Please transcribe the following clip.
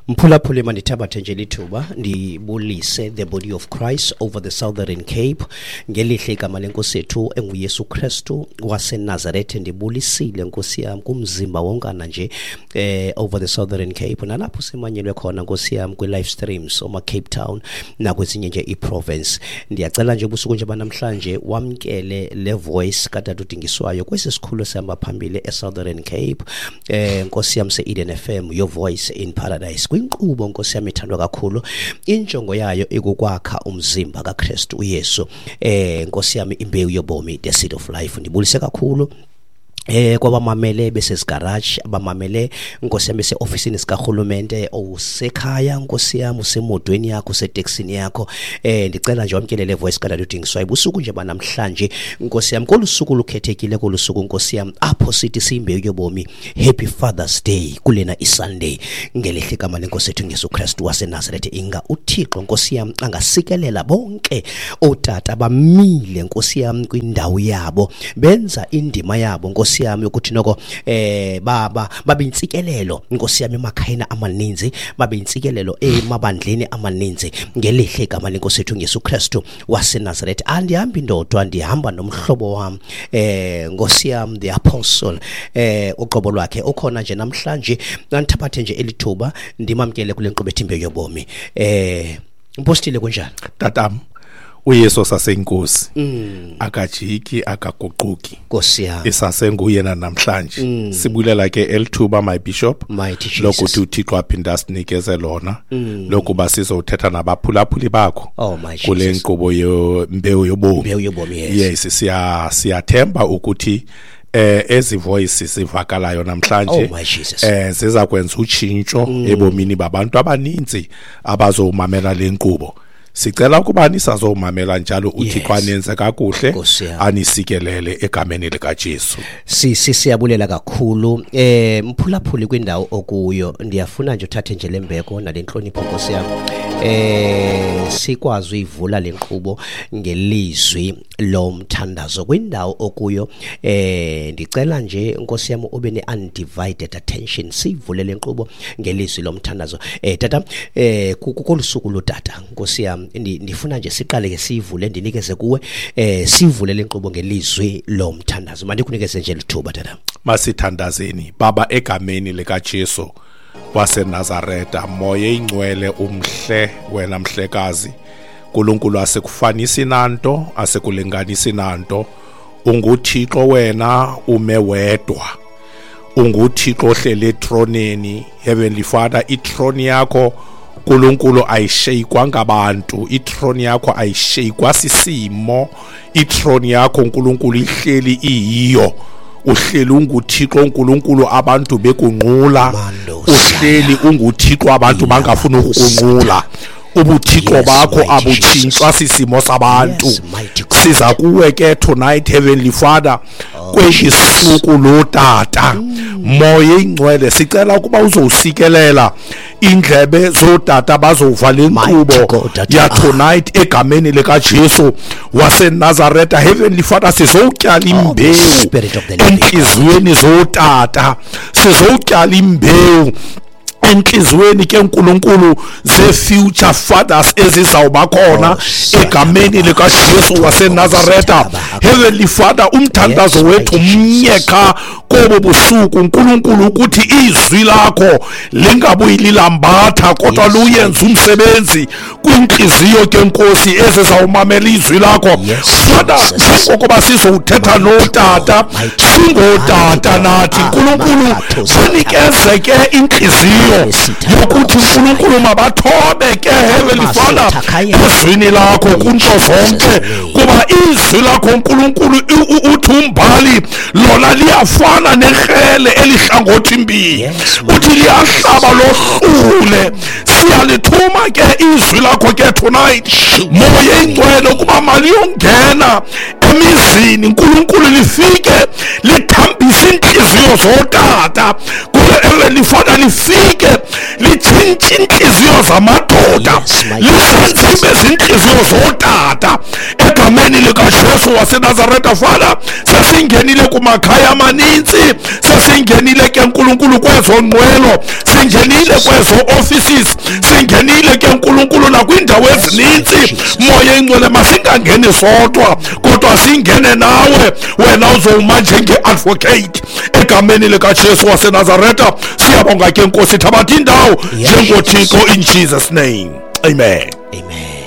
Mphulaphuli, mandithabathe nje lithuba ndibulise the body of Christ over the Southern Cape ngelihle igama lenkosi yethu enguYesu Kristu waseNazarethe. Ndibulisile nkosi yam kumzimba wonkana nje over the Southern Cape nalapho simanyelwe khona nkosi yam kwi-live streams oma Cape Town nakwezinye nje i-province. Ndiyacela nje ubusuku nje banamhlanje wamkele le voice katata udingiswayo kwesi sikhulu esihamba phambili e-Southern Cape, nkosi yam se-Eden FM, your voice in paradise. Kwinkqubo nkosi yam ithandwa kakhulu, injongo yayo ikukwakha umzimba kaKristu uYesu, nkosi yam imbewu yobomi, the seed of life. Ndibulise kakhulu kwabamamele besezigaraji, abamamele nkosi yam bese-ofisini sikarhulumente, usekhaya nkosi yam, usemotweni yakho, useteksini yakho, ndicela nje wamkele le voice kadade udingiswayo busuku nje banamhlanje nkosi yam, kolu suku lukhethekile, kolu suku nkosi yam apho sithi siyimbewu yobomi, Happy Father's Day kulena iSunday, ngelihle igama lenkosi yethu Yesu Kristu waseNazarethe. Inga uThixo nkosi yam angasikelela bonke ootata bamile nkosi yam kwindawo yabo, benza indima yabo nkosi yam yokuthi noko baba babe intsikelelo nkosi yam emakhayeni amaninzi, babe intsikelelo emabandleni amaninzi, ngelihle igama lenkosi yethu Yesu Kristu waseNazarethe. Andihambi ndodwa, ndihamba nomhlobo wam nkosi yam the apostle, uqobo lwakhe ukhona nje namhlanje. Andithabathe nje elithuba ndimamkele kule nkqubo ethi imbewu yobomi. Mpostile, kunjani? Tatam, uYesu saseyinkosi, akajiki, akaguquki, nkosi yam, isasenguyena namhlanje. Sibulela ke elithuba, my bishop, lokuthi uThixo aphinda asinikeze lona lokuba sizothetha nabaphulaphuli bakho kule nkqubo yembewu yobomi. Yes, siyathemba ukuthi ezi voices zivakalayo namhlanje ziza kwenza utshintsho ebomini babantu abaninzi abazomamela le nkqubo. Sicela ukuba nisazomamela njalo, uThixo anenze kakuhle, anisikelele egameni likaJesu. Siyabulela kakhulu. Mphulaphuli kwindawo okuyo, ndiyafuna nje uthathe nje lembeko nalenhlonipho nkosi yam, sikwazi uyivula le nkqubo ngelizwi lomthandazo. Kwindawo okuyo, ndicela nje nkosi yam ube ne-undivided attention, siyivule le nkqubo ngelizwi lomthandazo. Tata, kolu suku lotata nkosi yam, ndifuna nje siqale ke siyivule, ndinikeze kuwe, sivule le nkqubo ngelizwi lomthandazo. Mandikunikeze nje lithuba tata. Masithandazeni. Baba, egameni likaJesu waseNazaretha, moya ingcwele umhle wena mhlekazi, uNkulunkulu asikufanisi nanto, asikulinganisi nanto, unguThixo wena ume wedwa, unguThixo ohleli etroneni. Heavenly Father, itroni yakho uNkulunkulu ayisheyikwa ngabantu, itroni yakho ayisheyikwa sisimo, itroni yakho uNkulunkulu ihleli iyiyo. Uhleli unguThixo uNkulunkulu abantu bekunqula, uhleli unguThixo abantu bangafuni ukukunqula. Ubuthixo bakho abutshintshwa sisimo sabantu. Siza kuwe ke tonight, Heavenly Father, kweli suku lotata, moya ingcwele, sicela ukuba uzowusikelela indlebe zotata bazova le nkqubo ya tonight egameni likaJesu waseNazaretha. Heavenly Father, sizowutyala imbewu entliziyweni zotata, sizowutyala imbewu entliziyweni ke uNkulunkulu ze-future fathers ezizawuba khona egameni likaJesu waseNazaretha. Heavenly Father, umthandazo wethu mnye qha kobo busuku uNkulunkulu, ukuthi izwi lakho lingabuyi lilambatha, kodwa luyenze umsebenzi kwintliziyo ke Nkosi ezizawumamela izwi lakho. Father, njengokuba sizowuthetha notata, singotata nathi uNkulunkulu, sinikeze ke intliziyo yokuthi uNkulunkulu mabathobe ke, Heavenly Father, ezwini lakho kunto zonke, kuba izwi lakho uNkulunkulu uthi umbhali lona liyafana nekrele elihlangothi mbili, uthi liyahlaba lohlule. Siyalithuma ke izwi lakho ke tonight, moya ingcwele, ukuba maliyongena emizini uNkulunkulu, lifike lithambise intliziyo zotata kule, Father, lifike litshintshe intliziyo zamadoda, lisenze ibe zintliziyo zotata. Egameni likaJesu waseNazaretha, Father, sesingenile kumakhaya amaninzi, sesingenile ke Nkulunkulu kwezo nqwelo, singenile kwezo offices, singenile ke Nkulunkulu nakwiindawo ezininzi. Moya Ingcwele, masingangeni sodwa, kodwa singene nawe, wena uzowuma njenge-advocate. Egameni likaJesu waseNazaretha siyabonga ke Nkosi, thabatha indawo njengoThixo, in Jesus name, amen. Amen.